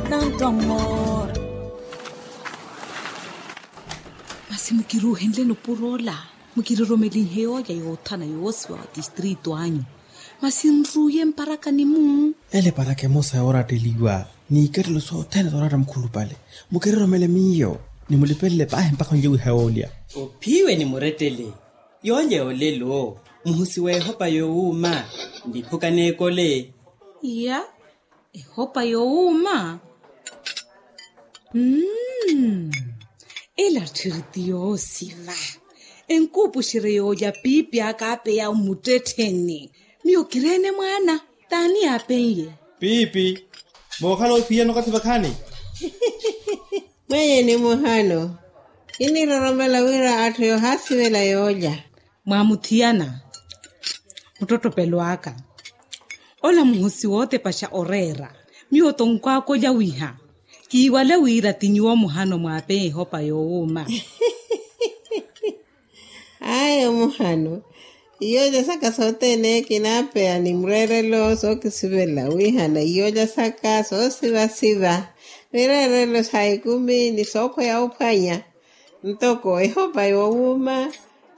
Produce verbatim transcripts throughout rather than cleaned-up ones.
Tanto amor. Masi mukiruuhenleni opuro ola, mukiroromelinhe yoolya yoothana yoosiwa wa tistritu anyu. Masi nruuye mparakani-mu. Ele eparaka emosa yooratteliwa n'ikettelo sothene zooratta mukhulupale. Mukiroromele miyo, ni mulipelele paahi mpakha onlye wiha yoolya. Ophiwe ni murettele. Yoolya yoolelo muhusi w'ehopa yoowuuma. Niphuka n'ekole. Iya. Ehopa yoowuuma. Mmm. Ela tthiri ti yoosiva. Enkuupuxerye yoolya piipi aka apeya omuttettheni. Miyo kireene mwaana. T'ani aapen'ye? Piipi. Mookhala ophiyana okathi vakhaani. Mwenye ni muhano. Kiniroromela wira atthu yoohaasivela yoolya. Mwaamuthiyana. Muttottopelo aka. Ola muhusi wootepaxa oreera. Miyo tonkw'aka olya wiha. Kiiwale wira ti nyuwo muhano mwaapeya ehopa yoowuuma. Ayo muhano. Iyoolya saka sothene kinaapeya ni mureerelo sookisivela wihana iyoolya saka soosivasiva. Mireerelo sa ekumi ni sookhweya ophwanya. Ntoko ehopa yoowuuma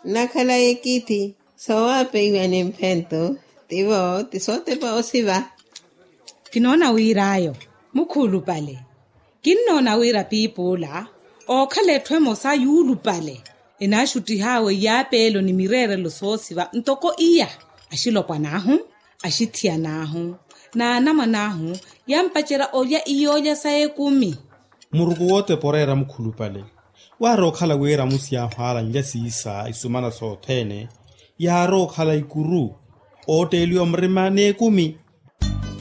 nnakhala ekithi. Soowapeiwa ni mphento. Tivo ti sootepa osiva. Kinoona wir'ayo mukhulupale. Kinnoona wira piip'ula ookhala etthu emosa yuulupale. Enaaxuttih'awe iyaapeelo ni mireerelo soosiva ntoko iya. Axilopwan'ahu, axithiyan'ahu, n'anamwan'ahu yampacerya olya iyoolya sa ekumi. Muruku wootepa oreera mukhulupale. Waari okhala wira amusi yaahu aalanlya siisa isumana sothene. Yaari okhala ikuru ootteeliwa murima n'ekumi.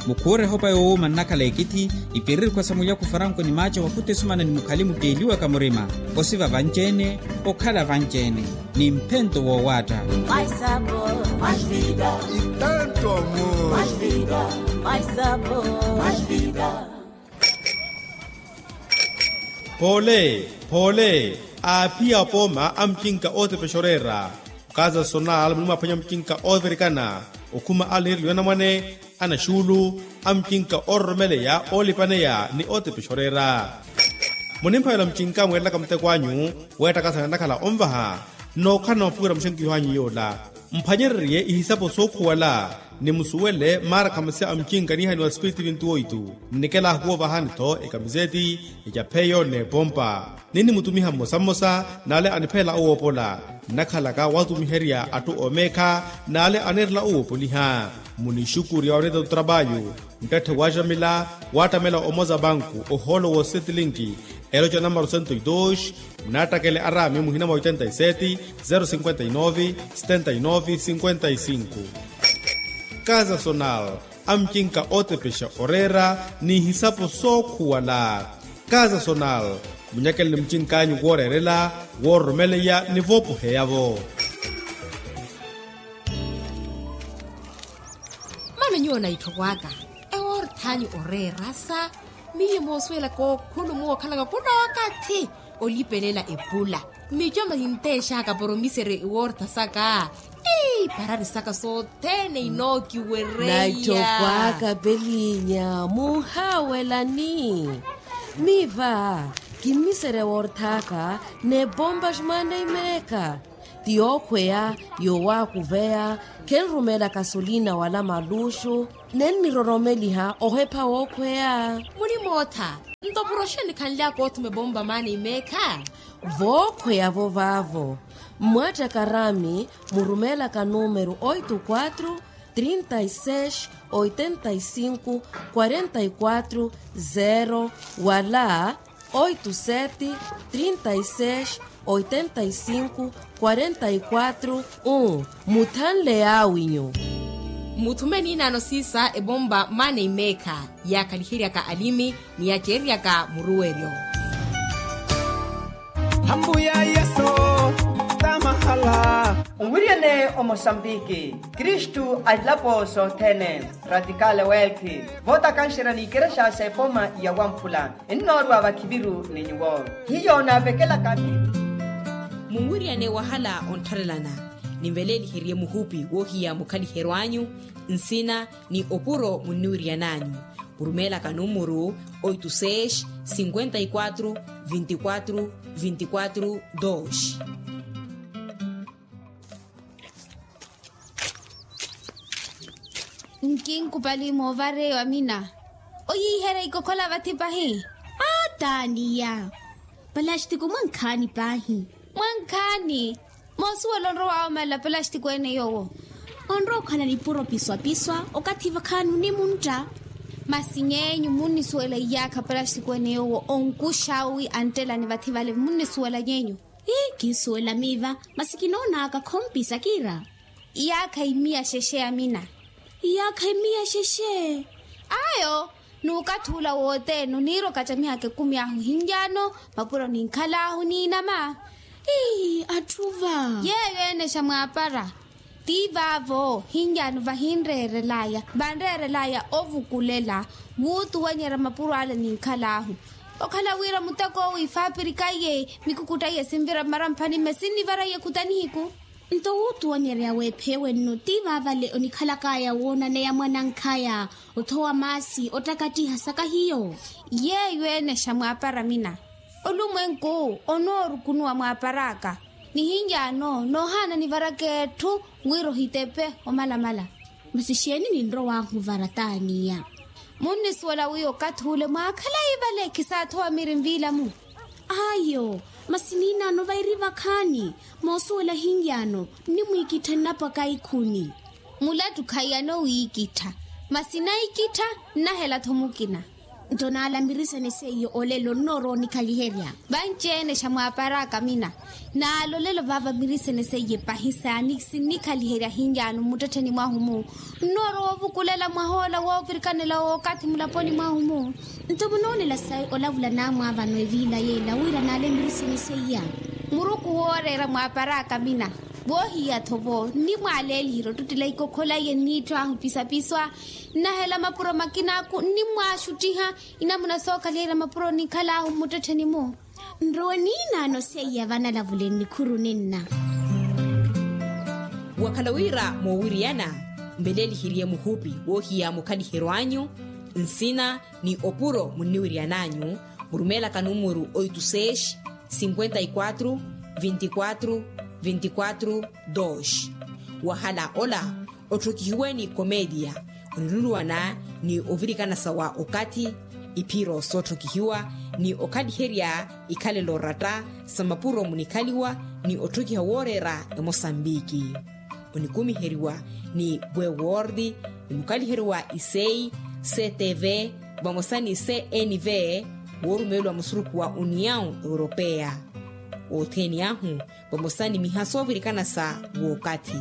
Mukhuure ehopa yoowuuma nnakhala ekithi. Ipirikhwa sa mulyaku faranko ni maaca wakhuta esumana ni mukhali mutteeliwaka murima. Osiva vanci-ene, okhala vanci-ene, ni mphento woowaatta. Poole, poole, aaphiya apooma a mucinka ootepexa oreera. Okaza sonal muni mwaphwanya mucinka oovirikana, okhuma alinireliwa anamwane, anaxuulu, a mucinka oororomeleya oolipaneya ni ootepexa oreera. Munimphavela mucinka mweerelaka muteko anyu weettakasana nnakhala onvaha. Nnookhalana mwapuwira muxenkiho anyu yoola. Mphwanyererye ihisapo sookhuwala, ni musuwele maara khamasi a mucinka niihaniwa spiritu vintu oitu. Nnikelaahu woovahani-tho ekamiseti, ecapheyo n'epompa. Ninnimutumiha mmosa mmosa n'ale anipheela owoopola. Nnakhalaka waatumiherya atthu oomeekha n'ale aneerela owoopoliha. Munixukurya oneeta otrapayu. Nttette waaxamila waattamela omoza banku ohoolo woosetlinki. Eloca namaro sento e dos. Naattakele araami muhina mwa oitenta e seti, zero sinkwenta e nove, setenta e nove sinkwenta e sinku. Kaza sonal, amucinka ootepexa oreera n'ihisapo sookhuwala. Kaza sonal, munyakeleni mucinkanyu wooreerela, woororomeleya ni voopoheya-vo. Mano nyuwo na itthoko aka ewoorthanyu oreerasa. Miyo moosuwelaka okhulumuwa okhalaka khulookathi olipelela epula. Mico mintexaka poromiseri ewoortha saka. Ii parari saka sothene inookiwereya. Na itthoko aka pelinya muhaawelani. Miva kimmiseri ewoorthaka n'epompa ximwaana imeekha. Ti yookhweya yowaakuveya. Khenrumela kasolina wala maluxu. Nenniroromeliha ohepha wookhweya. Muni mootha. Nto puro oxeeni khanlyaka othuma epompa maana imeekha. Vookhweya-vo vaavo. Mmwaattaka araami murumelaka numeru oito quatro, trinta e seis, oitenta e cinco, quarenta e quatro, zero wala oito sete, trinta e seis, oitenta e cinco, quarenta e quatro, um. Muthanle yaawinyu. Muthume niinaano siisa epompa maana imeekha yaakhaliheryaka alimi ni yaceeryaka muruweryo. Hambuya yesu tamahala. Onwiriyane omosambiki kristu alilapo sothene. Radikale welki vootakanxerya n'ikerexa s'epoma ya wamphula. Ennoorwa vakhiviru ni nyuwo hiyo naavekelaka. Munwiriyane wahala onttharelana. Ninveleeliherye muhupi woohiya mukhaliheryo anyu nsina ni opuro munniwiriyan'anyu. Murumeelaka numuru oito seis cinquenta e quatro vinte e quatro vinte e quatro dois. Nkinkupali moovareyo amina. Oyiiherya ikokhola vathi pahi. Aa taaniya. Palastiko mwankhaani paahi. Mwankhaani. Moosuwela onrowa woomalela palastiko ene yoowo. Onrowa okhala nipuro piswapiswa okathi vakhaani onimuntta. Masi nyeenyu munnisuwela iyaakha palastiko ene yoowo onkuxa wi anttelani vathi vale munnisuwela nyeenyu. Ii kinsuwela miiva. Masi kinoonaka khompisa kiira. Iyaakha imiya xexe amina. Iyaakha imiya xexe. Ayo. N'ukathi ula wothene oniira okatamihaka ekumi ahu hinjaano mapuro ninkhal'ahu n'inama. Ii atthu va. Yeeyo ene xa mwaapara. Ti vaavo hinjaano vahinreerelaya vanreerelaya ovukulela wuutuwanyerya mapuro ale ninkhal'ahu. Okhala wira muteko owo ifaapirikaiye mikukutta iye sinvira mmaramphani mme sinnivaraiye khuta nihiku. Nto wuutuwanyerya w'epheewe nno ti vaavale onikhalak'aya woonaneya mwanankhaya othowa maasi ottakattiha saka hiyo. Yeeyo ene xa mwaapara mina. Olumwenku onoorukunuwa mwaapar'aka nihinjaano noohaana nivaraka etthu wira ohitepe omalamala. Masi xeeni ninrow'ahu vara taaniya. Munnisuwela wiiya okathi ule mwaakhala ivale khisaathowa miri nviilamu. Ayo. Masi niinaano vairi vakhaani. Moosuwela hinyaano nnimwiikittha nnapwaka ikhuni. Mulattu khaiyana owiikittha. Masi naikittha nnahela-tho mukina. Nto naalamirisene seiyo olelo nnoorowa onikhaliherya. Vanci-ene xa mwaapar'aka mina. Naala olelo vaavamirisene seiye pahi saani sinnikhaliherya hinyaano mmuttettheni mwahu-mu. Nnoorowa ovukulela mwah'ola woovirikanela w'okathi mulaponi mwahu-mu. Nto munoolela sayi olavula naamwaavano eviila yeela wira naale mmirisini seiya. Muruku wooreera mwaapar'aka mina. Woohiya-tho vo nnimwaaleeliherya ottuttela ikokhola iye nniitthu ahu pisapiswa. Nnahela mapuro makina-aku nnimmwaaxuttiha. Inamuna sookhaliherya mapuro nikhal'ahu mmuttettheni-mu. Nrowe niinaano seiya vanalavule nnikhuru ninna. Wakhala wira moowiriyana mveleeliheriye muhupi woohiya mukhaliheryo anyu nsina ni opuro munniwiriyan'anyu. Murumeelaka numuru oito seis cinquenta e quatro vinte e quatro vinte e quatro dois. Wahala ola otthokihiwe ni komedia oniluluwana ni ovirikana sa wa okathi iphiro sootthokihiwa ni okhaliherya ikhalela oratta sa mapuro munikhaliwa ni otthokiha wooreera emosambiki. Onikumiheriwa ni bwewordi ni mukhaliheri wa isei ctv vamosa ni cnv woorumeeliwa musurukhu wa união europeia. Othene ahu vamosa ni miha soovirikana sa wookathi.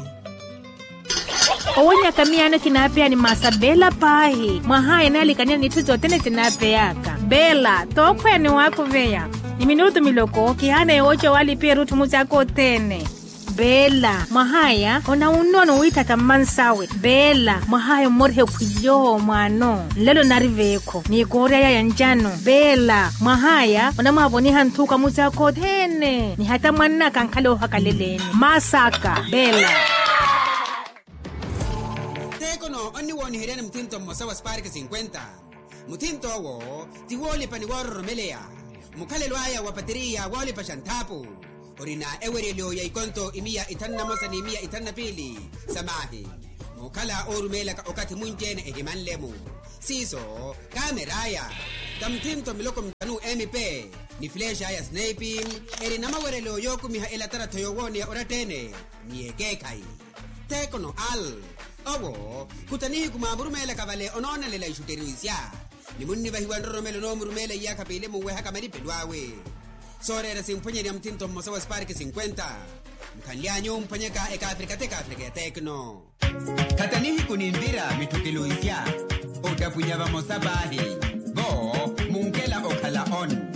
Owonyaka miyaano kinaapeya ni maasa beela paahi mwahaya enaalikaniya n'itthu sothene sinaapeyaka beela tookhweya ni waakuveya ni minutu miloko kihaana yooca waalipiya erutthu musi aka othene. Beela mwahaya onawunnono wiithatha mmansawe beela mwahaya ommoriha ekhwilyo mwaano nlelo nari veekho ni koorya yaya ncano beela mwahaya onamwaavoniha nthuka musi aka othene ni hata mwannaka ankhala oohakaleleeni maasaka beela. Tekono onniwooniheryani muthinto mmosa wa spark cinquenta. Muthinto owo ti woolipa ni woororomeleya mukhalelo aya wa pateriya woolipa xa nthaapu. Orina eweryelo ya ikonto imiya ithanu na mosa ni imiya ithanu na piili sa maahi. Muukhala oorumeelaka okathi munci-ene ehimanle-mu siiso kaamer'aya ta muthinto miloko mithanu mp ni flexa aya snipe. Eri na maweryelo yookumiha elatarattho yoowooneya oratta-ene ni ekeekhayi. Tekono al owo khuta nihiku mwaamurumeelaka vale onoonelela ixutteriwisya ni munnivahiwa nroromelo onoomurumeela iyaakha piili munwehaka malipelo awe. Sooreera simphwanyerya muthinto mmosa wa spark cinquenta. Mukhanly'anyu omphwanyaka ekaafrika t'ekaafrika ya tekno. Khata nihiku ninvira mitthukiluwisya ottapwinya vamosa paahi vo munkela okhala on.